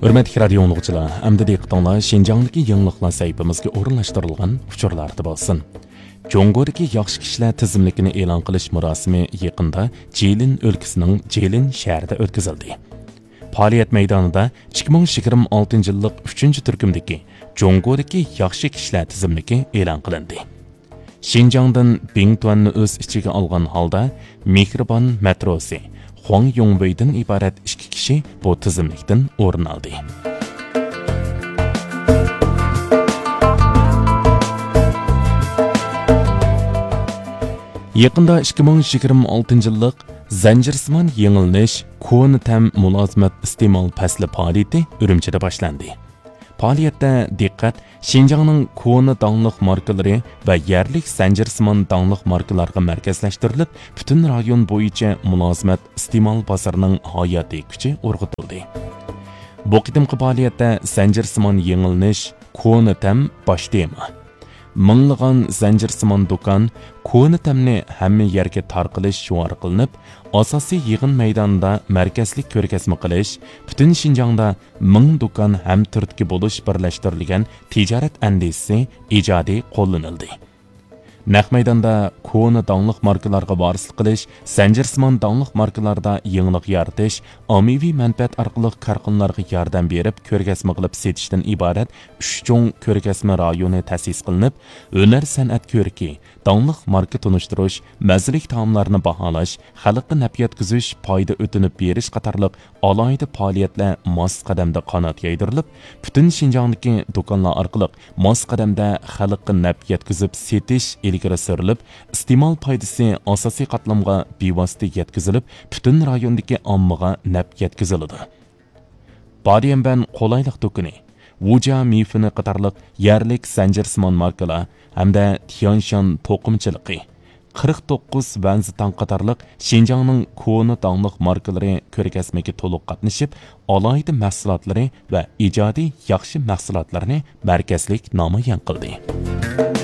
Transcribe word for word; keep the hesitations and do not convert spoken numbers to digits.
ھۆرمەتلىك رادىيو ئاڭلىغۇچىلار، ئەمدى دىققىتىڭلار شىنجاڭدىكى يېڭىلىقلار سەھىپىمىزگە ئورۇنلاشتۇرۇلغان ئۇچۇرلاردا بولسۇن. جۇڭگودىكى ياخشى كىشىلەر تىزىملىكىنى ئېلان قىلىش مۇراسىمى يېقىندا جىلىن ئۆلكىسىنىڭ جىلىن شەھىرىدە ئۆتكۈزۈلدى. پائالىيەت مەيدانىدا ئىككى مىڭ يىگىرمە ئالتىنچى يىللىق ئۈچىنچى تۈركۈمدىكى جۇڭگودىكى ياخشى كىشىلەر تىزىملىكى ئېلان قىلىندى. شىنجاڭدىن بىڭتۈەننى ئۆز ئىچىگە ئالغان ھالدا مېھرىبان مېتروسى خۇاڭ يۇڭۋېيدىن ئىبارەت ئىككى كىشى بۇ تىزىملىكتىن ئورۇن ئالدى. يېقىندا ئىككى مىڭ يىگىرمە ئالتىنچى يىللىق زەنجىرسىمان يېڭىلىنىش كونا تەم مۇلازىمەت ئىستېمال پەسلى پائالىيىتى ئۈرۈمچىدە باشلاندى. پائالىيەتتە دىققەت شىنجاڭنىڭ كونا داڭلىق ماركىلىرى ۋە يەرلىك زەنجىرسىمان داڭلىق ماركىلارغا مەركەزلەشتۈرۈلۈپ، پۈتۈن رايون بويىچە مۇلازىمەت ئىستېمال بازىرىنىڭ ھاياتىي كۈچى ئۇرغۇتۇلدى. بۇ قېتىمقى پائالىيەتتە زەنجىرسىمان يېڭىلىنىش، كونا تەم باش تېما. مىڭلىغان زەنجىرسىمان دۇكان، كونا تەمنى ھەممە يەرگە تارقىلىش شوئارى قىلىنىپ، ئاساسىي يىغىن مەيدانىدا مەركەزلىك كۆرگەزمە قىلىش، پۈتۈن شىنجاڭدا مىڭ دۇكان ھەم تۈرتكە بولۇش بىرلەشتۈرۈلگەن تىجارەت ئەندىزىسى ئىجادىي قوللىنىلدى. نەق مەيداندا كونا داڭلىق ماركىلارغا ۋارىسلىق قىلىش، زەنجىرسىمان داڭلىق ماركىلاردا يېڭىلىق يارىتىش، ئاممىۋى مەنپەئەت ئارقىلىق كارخانىلارغا ياردەم بېرىپ كۆرگەزمە قىلىپ سېتىشتىن ئىبارەت ئۈچ چوڭ كۆرگەزمە رايونى تەسىس قىلىنىپ، ھۈنەر سەنئەت كۆرىكى، داڭلىق ماركا تونۇشتۇرۇش، مەززىلىك تائاملارنى باھالاش، خەلققە نەپ يەتكۈزۈش، پايدا ئۆتۈنۈپ بېرىش قاتارلىق ئالاھىدە پائالىيەتلەر ماس قەدەمدە قانات يايدۇرۇلۇپ، پۈتۈن شىنجاڭدىكى دۇكانلار ئارقىلىق ماس قەدەمدە خەلققە نەپ يەتكۈزۈپ سېتىش ئىلگىرى سۈرۈلۈپ، ئىستېمال پايدىسى ئاساسىي قاتلامغا بىۋاسىتە يەتكۈزۈلۈپ، پۈتۈن رايوندىكى ئاممىغا نەپ يەتكۈزۈلىدۇ. باديەنبەن قولايلىق دۇكىنى، ۋۇجيا مىفىنى قاتارلىق يەرلىك زەنجىرسىمان ماركىلار ھەمدە تيەنشان توقۇمىچىلىقى، قىرىق توققۇز ۋەنزىتاڭ قاتارلىق شىنجاڭنىڭ كونا داڭلىق ماركىلىرى كۆرگەزمىگە تولۇق قاتنىشىپ، ئالاھىدە مەھسۇلاتلىرى ۋە ئىجادىي ياخشى مەھسۇلاتلىرىنى مەركەزلىك نامايان قىلدى.